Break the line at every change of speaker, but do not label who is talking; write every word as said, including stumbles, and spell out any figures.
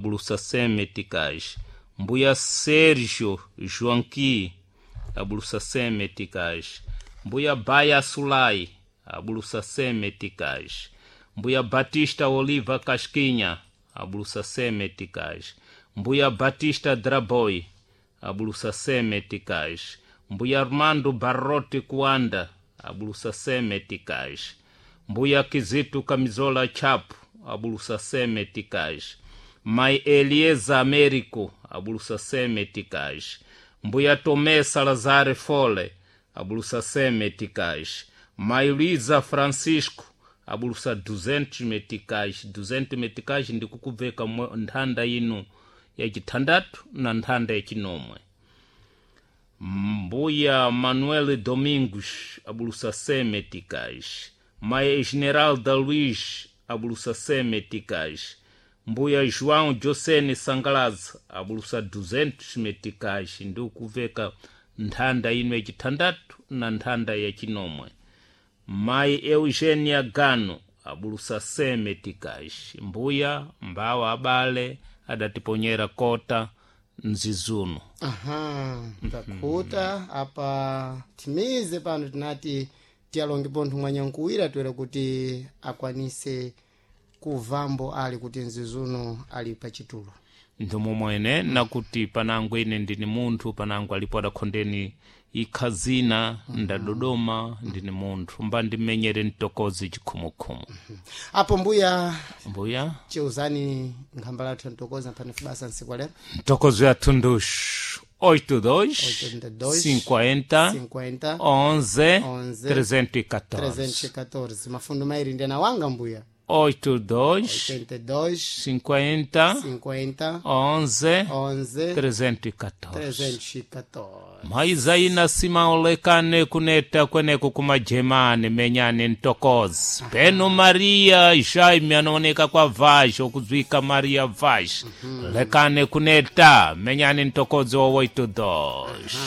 Abulusa cem meticais. Mbuya Sérgio Joanqui, abulusa cem meticais. Mbuya Baia Sulai, abulusa cem meticais. Mbuya Batista Oliva Casquinha, abulusa cem meticais. Mbuya Batista Draboi, abulusa cem meticais. Mbuya Armando Barrote Kuanda, abulusa cem meticais. Mbuya Kizito Camisola Chapo, abulusa cem meticais. Mai Elieza Américo, abulusa cem meticais. Mbuya Tomé Salazar Fole, abulusa cem meticais. Mai Luísa Francisco, abulusa duzentos meticais. duzentos meticais ndikukubveka nthanda ino yacithandatu na nthanda yacinomwe. Mbuya Manuel Domingos, abulusa cem meticais. Mai Esmeralda Luiz, abulusa cem meticais. Mbuya João Josene Sangalaza, abulusa duzentos meticais. Ndikuveka nthanda ino yacithandatu na nthanda yacinomwe. Mai Eugênia Gano, abulusa cem meticais. Mbuya mbawa abale adatiponyera kota mzizuno.
Aha, takhuta apa timize pano tinati tiyalonge pontho mwanyankuwira toera kuti akwanise kuvambo ali kuti mzizuno ali pachitulo.
Ndomomwene nakuti panango ine ndini munthu, panango alipo adakhondeni ikhazina ndadodoma ndini munthu mba ndimenyere mtokozi chikhumukhumu.
Apo mbuya
Mbuya
chiuzani nkhamba lathu ya mtokozi aphani basa nsiku lero.
Mtokozi yathu nduxu oito dois
oitenta e dois
cinquenta
cinquenta
onze
onze
trezentos e catorze.
trezentos e catorze. Mafundo mairi ndena wanga mbuya.
Oito dois
oitenta e dois
cinquenta
cinquenta
onze
onze
trezentos e catorze.
trezentos e catorze.
Maizaina simaolekane kuneta kweneko kumajemane menyane ntokozi peno Maria Jaime anaoneka kwa Vaz okuzwika Maria Vaz lekane kuneta menyane ntokozi wa oito dois.